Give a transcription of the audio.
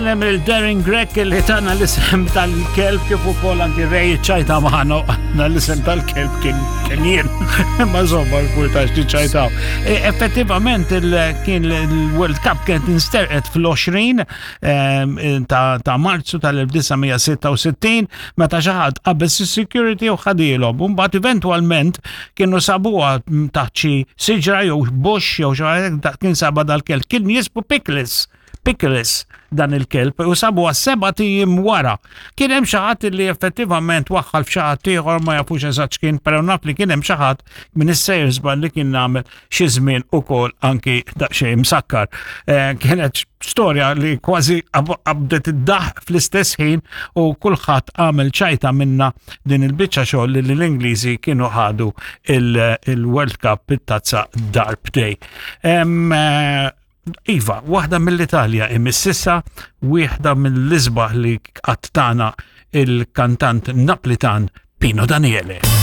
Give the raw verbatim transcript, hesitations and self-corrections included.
Hemm il-Darren Grech li tana l-isem tal-kelb, kif ukoll anki Ray ċajta magħna, għandna l-isem tal-kelb kien kien jien. Ma żomma l-kurtax ċajtaw. E, effettivament kien il-World Cup kienet insterqet fl-għoxrin ehm, ta' Marzu tal-elf disa' mija sitta u sittin meta xi ħadd qabeż is-security u ħadilhom. Mbagħad eventwalment kienu sabuha taħt xi siġra jew bush jew xi kien saba dal-kelb. Kien jismu Pickles. Pickles dan il-kelb u sabu sebat ijiem wara. Kien hemm xi ħadd li effettivament waħħal f'xi ħadd ieħor, ma jafux eżatt x'kien, però naf li kien hemm xi ħadd minn is-sejjer żball li kien nagħmel xi żmien ukoll anki daqsxejn msakkar. Eh, kienet storja li kważi qabdet id-daħ fl-istess ħin u kulħadd għamel ċajta minna din il-biċċa xogħol li l-Ingliżi kienu ħadu il-World Cup, it-tazza, darbtejn. Eh, Iva, waħda mill-Italja imississa, waħda mill-isbaħ li qattana il-kantant Naplitan Pino Daniele.